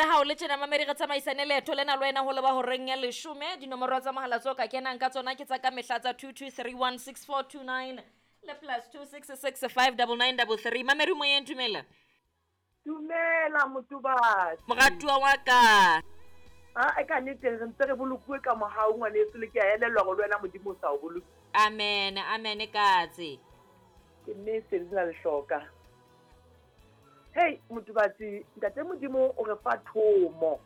Re ha o le tjena mamedi re tsamaisane leeto lena le wena ho leba horeng ya leshome. Dinomoro tsa mohala tseo ka kenang ka tsona ke tsa ka mehla tsa 22316429 le plus 2665993. Mamedi moyeng, dumela. Dumela Motubatsi. Moratuwa wa ka. A e ka nnete re ntse re bolokuwe ka mohau ngwaneso le ke a elellwa hore le wena Modimo o sa o boloki. Amen, amen katse. Ke mme Selina Lehloka. Hei Motubatsi, ntate Modimo o re fa thomo.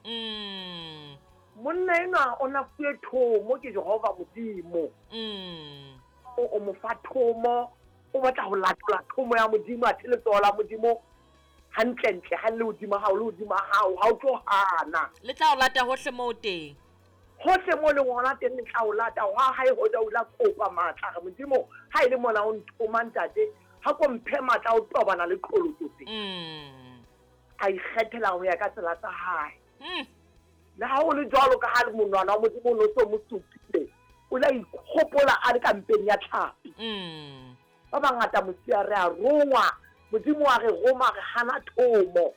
Monna enwa o na fuwe thomo ke Jehova Modimo. O mo fa thomo, o batla ho latola thomo ya Modimo, athe letsoho la Modimo hantlentle ha le hodima hao, le hodima hao, ha o tlo hana. Le tla o lata hohle moo teng. Hohle moo leng hona teng le tla o lata. Hwa hae hoja o la kopa matla, re Modimo, ha e le mona o nthoma ntate, ha ko mphe matla o tobana le qholotso tse. A ikgethela ho ya ka tsela tsa hae. Le ha ho le jwalo ka ha le monwana wa Modimo o no so mo supile, o la ikgopola a le ka mpeng ya tlhapi. Ba bangata mosia re a rongwa, Modimo wa re roma re hana thomo.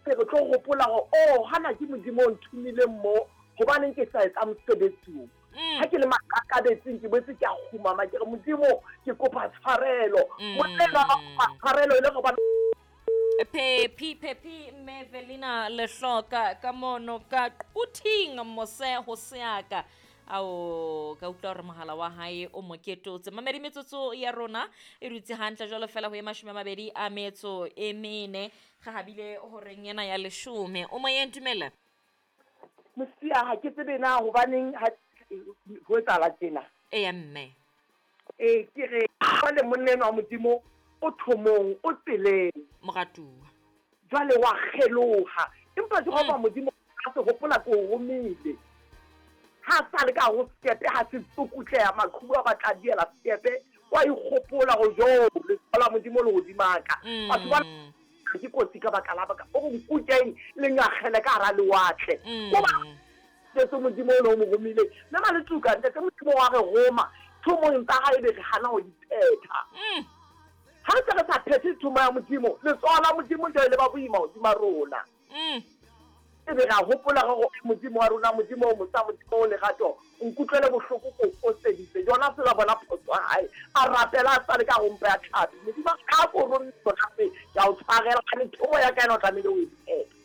Re tlo gopola gore oh hana ke Modimo o nthomileng mo, hobaneng ke sa etsa mosebetsi o. Ha ke le maqakabetsing ke boetse ke a kgumama ke re Modimo ke kopa tshwarelo. Monna enwa a kopa tshwarelo e le gobane Phephi Phephi mme Velina Lehloka ka mono ka Quthing mose ho seaka. Ao ka utlwa hore mohala wa hae o mo ketotse. Mamedi metsotso ya rona e dutse hantle jwalo fela ho e 24. Re habile horeng ena ya leshome. O moyeng, dumela. Mosia ha ke tsebe na hobaneng ha ho etsahala tjena. Eya mme. Ee ke re jwale monna enwa wa Modimo o thomong, o tseleng. Moratuwa. Jwale wa kgeloha. Empa Jehova Modimo a se hopola ke o romile. Ha sa le ka ho sekepe ha se tsukutleha maqhubu a batla diela sekepe, wa ikgopola ho jo letsoho la Modimo le hodima ka. Batho ba ke kotsi ka baka la baka o re nkukeng le ngakgele ka hara lewatle. Ko ba Jesu Modimo o ne o mo romile. Mme Maletsuka ntate Modimo wa re roma thomong tsa hae be re hana ho di phetha. Ha re se re sa phethe thomo ya Modimo, letsoho la Modimo jwale le ba boima hodima rona. Ebe ra hopola re gore Modimo wa rona, Modimo o mosa, Modimo o lerato, nkutlwele bohloko ko foseditse. Jona se la bona phoso ya hae. A rapela a sale ka rompa ya tlhapi. Modimo a ko romme sona se, ke a o tshwarela. Kgane thomo ya ka ena o tlamehile o e phetha.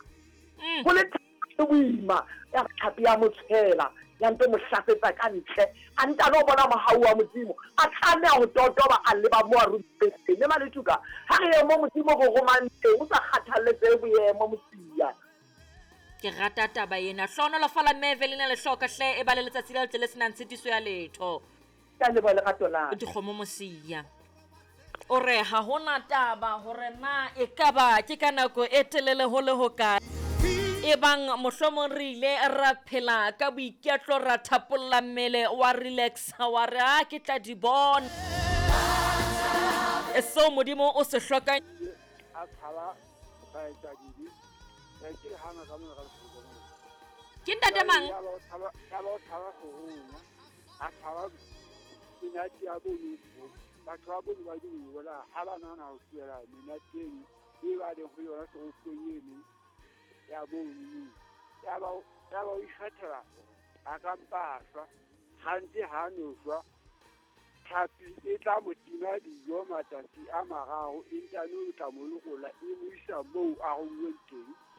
Ho le thata boima, ya tlhapi ya mo tshwela, ya nto mo hlasetsa ka ntle. A ntano bona mohau wa Modimo, a tlameha ho totoba a leba mo a romileng teng. Mme Maletuka, ha re ye mo Modimo re romang teng, o sa kgathalletsehe boemo mosia. Ke rata taba ena. Hlohonolofala mme Evelina Lehloka hle, e ba le letsatsi le letle le senang tshitiso ya letho. Ka leboha lerato la. Dikgomo mosia. O re ha hona taba hore na e ka ba ke ka nako e telele ho le hokae. Ebang mohlomong re ile ra phela ka boiketlo ra thapolla mmele wa relaxa wa re a ke tla di bona. Seo Modimo o se hlokang. A tshaba baetsadibe, ke le hana ka mona ka lefoko mona. Ke ntate mang? Ya ba o tshaba ho rona, a tshaba menate ya bone, batho ba bone ba di bola ha ba nahana ho tlohela menate eno e ba leng ho yona toropong eno ya bone. Ya ba o ikgethela a ka mpa a shwa, hantse ha no shwa. Tlhapi e tla mo tima dijo matsatsi a mararo, e ntane o tla mo lokolla e mo isa moo a romilweng teng.